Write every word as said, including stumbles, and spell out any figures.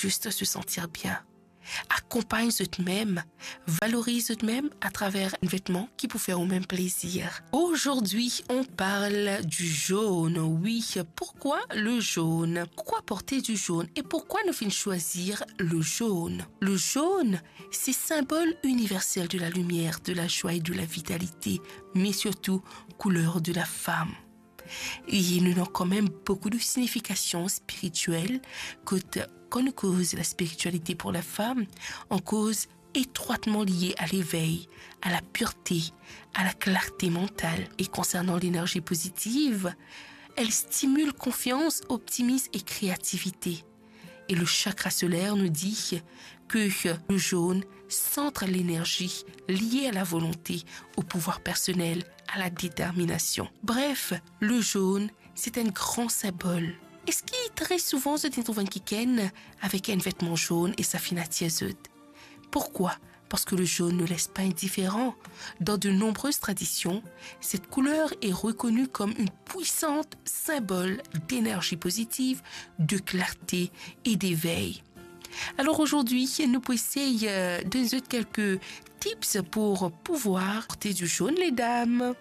juste se sentir bien. Akonpagn zot mem, valoriz zot mem atraver enn vetman ki pou fer ou mem plezir. Aujourd'hui, on parle du jaune. Oui, pourquoi le jaune? Pourquoi porter du jaune et pourquoi nous finn choisir le jaune? Le jaune, c'est symbole universel de la lumière, de la joie et de la vitalité, mais surtout couleur de la femme. E nou ena kanmem boukou de signifikasion spiritiel, kot kan nou koz la spiritualité pour la femme, on koz étroitement lié à l'éveil, à la pureté, à la clarté mentale. Et concernant l'énergie positive, elle stimule confiance, optimisme et créativité. Et le chakra solaire nous dit que le jaune centre l'énergie liée à la volonté, au pouvoir personnel, à la détermination. Bref, le jaune, c'est un grand symbole. Eski tre souvan zot inn trouv enn kikenn avek enn vetman jaune e sa finn atir zot? Pourquoi? Parce que le jaune ne laisse pas indifférent. Dans de nombreuses traditions, cette couleur est reconnue comme une puissante symbole d'énergie positive, de clarté et d'éveil. Alors aujourd'hui, nou pou esey, euh, donn zot quelques tips pour pouvoir porter du jaune, les dames.